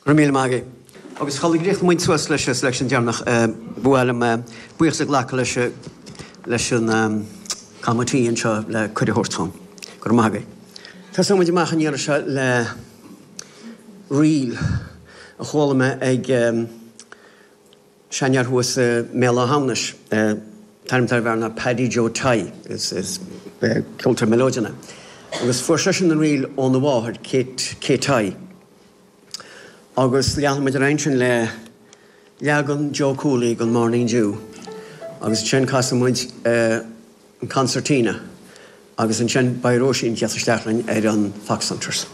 Go raibh míle maith agaibh. Agus sula gcríochnóidh muid suas leis an selection deireanach, ba mhaith liom buíochas a ghlacadh leis leis an committee anseo le cuireadh a thabhairt dom. Go raibh maith agaibh. Tosóidh muid amach an iarraidh seo le ríl a chuala mé ag seanfhear thuas i mBéal Átha hAmhnais. An t-ainm atá ar an bhfear ná Paddy Joe Tighe. Is ceoltóir mileoidean é. Agus fuair seisean an ríl óna mháthair, Kate, Kate Tighe. Agus leanfaidh muid ar aghaidh ansin le leagan Joe Cooley den Morning Dew agus ansin casfaidh muid an Concertina agus ansin beidh Róisín ag tíocht isteach linn ar an Fox Hunters.